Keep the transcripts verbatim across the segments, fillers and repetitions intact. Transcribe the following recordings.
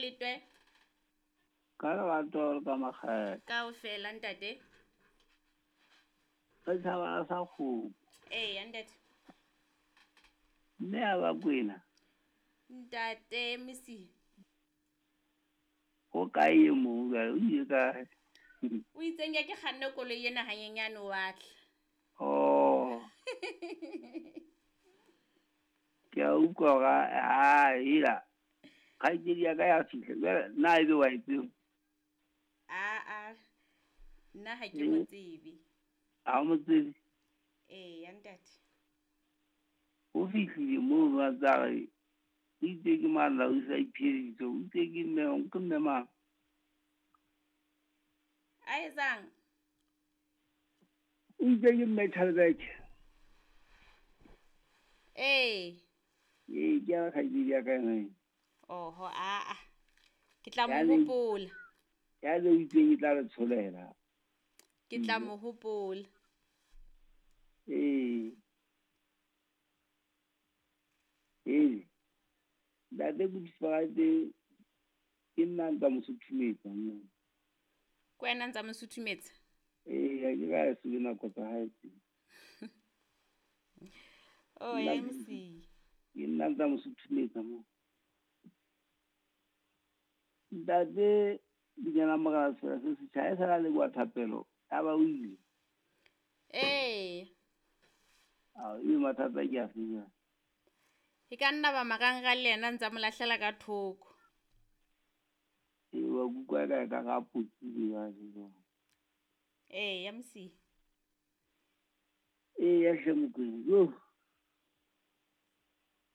letwe? Ka lerato le ka makgethe. Kaofela ntate. Setjhaba sa kgomo. Eya ntate. Mme a ba kwena. Ntate Msi. O kae e mong jwale, o ile kae? O itseng ya ke kganne koloi ena hanyenyane wa tla. Oh. Ke a utlwa hore ha ela kgaitsedi ya ka ya fihla jwale nna ebe wa e tseba? Aa, nna ha ke mo tsebe. Ha o mo tsebe? Eya ntate. O fihlile mono a tsa re o itse ke mang la o sa ipheditse, o itse ke mme, ke mme mang? A etsang? O itse ke mme Chalbeke. Ee. Ee, ke ya kgaitsedi ya ka ena. Oho, aa. Ke tla mo Ya le- hopola. Ya le o itseng e tla re tsholela. Ke tla mo hopola. Ee. Ee. Ntate Kutlwisiso ke nna ntsa mo suthumetsa nna. Ke wena ntsa mo suthumetsa? Ee, ha ke ka se le nako tsa hae tse. Oh, Nna M C. Ke nna ntsa mo suthumetsa mo. Ntate Dinyana Morena Sefela se setjha, ha e sala le kwa thapelo, ya ba o ile. Ee. Ao, ebe mathata ke a fe jwale? E ka nna ba marangrang le yena ntsa mo lahlela ka thoko. Ee, wa kutlwa ka ka ga potile jwale jwale. Ee, ya Msi. Ee, ya hle Mokwena, yo.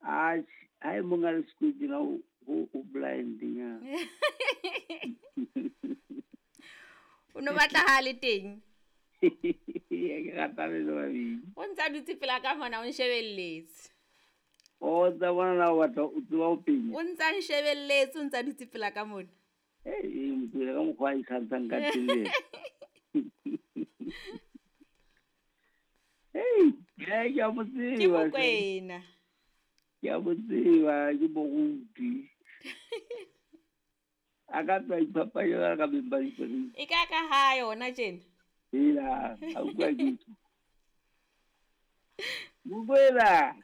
Atjhe, ha e mong a le sekwetseng a o, o, o blind nyana. O no batla ha le teng? Ke rata le le babedi. O ntsa dutse pela ka mona o nshebelletse. O tsa bona na o batla o tseba ho penya. O ntsa nshebelletse, o ntsa dutse pela ka mona. Ee, Mokwena ka mokgwa a ikgantshang ka teng le yena. Hey, ke a mo tseba, Ke hle. Mokwena. Ke a mo tseba, ke moruti. A ka tswa iphapanya jwalo ka beng ba dikoloi. E ka ka ha yona tjena? Hela, ha utlwa ke tjho. Mokwena.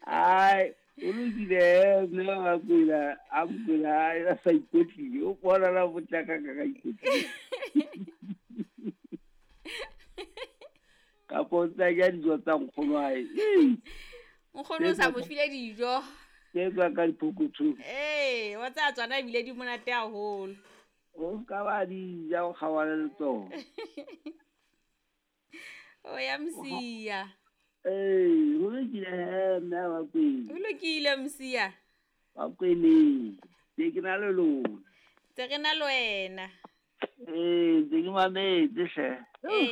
Ai, o lokile, mme wa Mokwena, a Mokwena, a sa ikwetlile, o bona la potlaka ka ka ikwetlile. Kapo o tla ja dijo tsa nkgono wa hae. Nkgono o sa mo file dijo. Tse tswang ka diphokothong. Ee, wa tsaya tsona ebile di monate haholo. O ska ba di ja o kgaohane le tsona. O ya Msiya. Ee, ho lokile he, mme wa Mokwena. Ho lokile Msiya. Bakweneng, ke ke na le lona. Tse re na le wena. Ee, ntse ke mametse hle. Ee.